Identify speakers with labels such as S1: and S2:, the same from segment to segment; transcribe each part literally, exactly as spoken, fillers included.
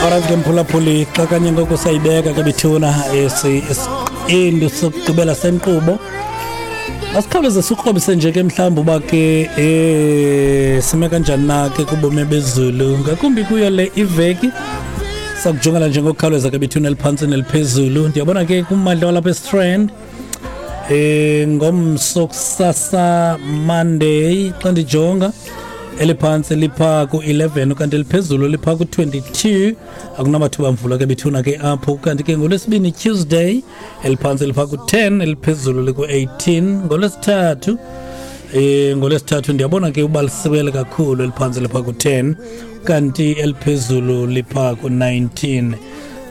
S1: Alright ke mphulaphuli, xa kanye ngoku sayibeka ke bethuna esi isiqendu sokugqibela senkqubo. Asikhawuleze sikrobise nje ke mhlawumbi uba ke eh sime kanjani na ke kubomi bezulu, ngakumbi kuyo le iveki. Sakujongela nje ngokukhawuleza ke bethuna eliphantsi neliphezulu. Ndiyabona ke kummandla walapha eStrand eh ngomso kusasa Monday, xa ndijonga eliphantsi lipha ku-eleven kanti eliphezulu lipha ku-twenty-two. Akunamathuba mvula ke bethuna ke apho. Kanti ke ngolwesibini Tuesday eliphantsi lipha ku-ten, eliphezulu liku-eighteen. Ngolwesithathu eh ngolwesithathu ndiyabona ke uba lisibele kakhulu, eliphantsi lipha ku-ten kanti eliphezulu lipha ku-nineteen.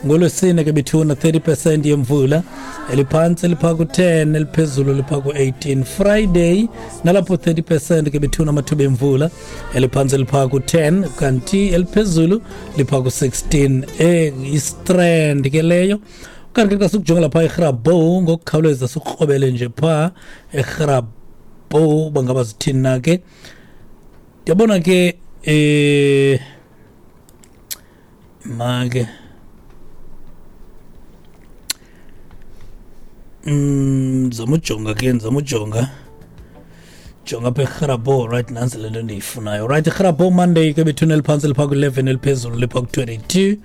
S1: Ngolwesine ke bethuna thirty percent yemvula, eliphantsi lipha ku-ten, eliphezulu lipha ku-eighteen. Friday nalapho thirty percent ke bethuna amathuba emvula, eliphantsi lipha ku-ten kanti eliphezulu lipha ku-sixteen. Eh istrand ke leyo. Kanti ke xa sikujonga lapha eGrabouw ngokukhawuleza sikrobele nje pha eGrabouw bangaba zithini na ke. Ndiyabona ke eh make Mm, ndizama ujonga ke, ndizama ujonga jonga apha eGrabouw. Right, nantsi le nto ndiyifunayo. Right, iGrabouw Monday ke bethuna eliphantsi lipha ku-eleven, eliphezulu lipha ku-twenty-two.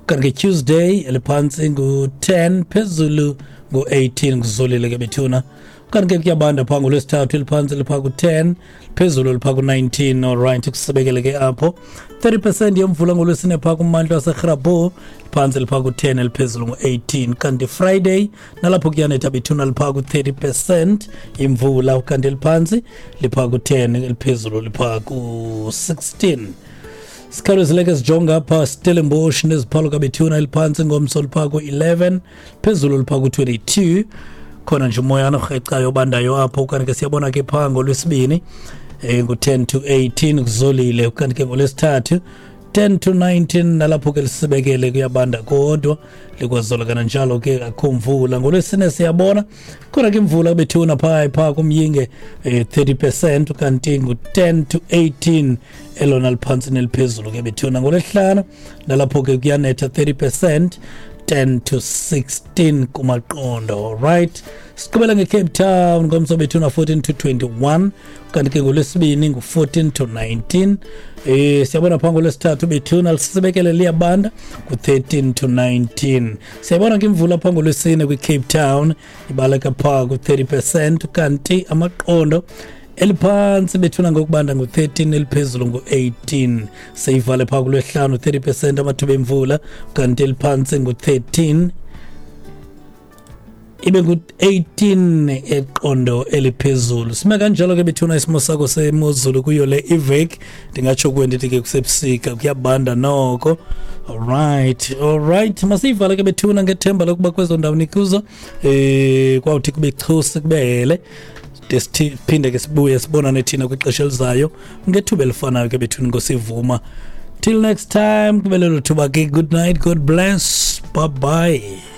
S1: Kanti ke Tuesday eliphantsi ngu-ten, phezulu ngu-eighteen, kuzolile ke bethuna. Kanti ke kuyabanda phaa ngolwesithathu, eliphantsi lipha ku-ten, phezulu lipha ku-nineteen. Alright, kusibekele ke apho. thirty percent yemvula ngolwesine phaa kummandla waseGrabouw, phantsi lipha ku-ten, eliphezulu ngu-eighteen. Kanti Friday nalapho kuyanetha bethuna, lipha ku-thirty percent imvula, kanti eliphantsi lipha ku-ten, eliphezulu lipha ku-sixteen. Sikhawulezile sijonga apha Stellenbosch neziphalo kabethuna, eliphantsi ngomso lipha ku-eleven, phezulu lipha ku-twenty-two. Khona nje umoyana orhecayo obandayo apho. Kanti ke siyabona ke phaa ngolwesibini eh ngu-ten to eighteen, kuzolile. Kanti ke ngolwesithathu ten to nineteen, nalapho ke lisibekele kuyabanda kodwa likwazola kananjalo ke akho mvula. Ngolwesine siyabona khona ke imvula bethuna phaa phaa kumyinge eh, thirty percent, kanti ngu-ten to eighteen elona liphantsi neliphezulu ke bethuna. Ngolwesihlanu nalapho ke kuyanetha thirty percent, ten to sixteen kumaqondo. Right, siqhubela ngeCape Town ngomso bethuna fourteen to twenty-one, kanti ke ngolwesibini ngu-fourteen to nineteen. Eh siyabona phaa ngolwesithathu bethuna lisibekele liyabanda ku-thirteen to nineteen. Siyabona ke imvula phaa ngolwesine kwiCape Town ibaleka phaa ku-thirty percent, kanti amaqondo eliphantsi bethuna ngokubanda ngu-thirteen, eliphezulu ngu-eighteen. Seyivale phaa kulwesihlanu thirty percent amathuba emvula, kanti eliphantsi ngu-thirteen, ibe ngu-eighteen eqondo eliphezulu. Sime kanjalo ke bethuna isimo sakho semozulu kuyo le iveki. Ndingatsho kuwe ndithi ke kusebusika, kuyabanda noko. Alright, alright, masiyivale ke bethuna ngethemba lokuba kwezo ndawo nikuzo eh kwawuthi kube chusi kubehele, siphinde ke sibuye sibonane thina kwixesha elizayo ngethuba elifanayo ke bethuna ngosivuma. Till next time, kube lelo thuba ke. Good night, God bless, bye bye.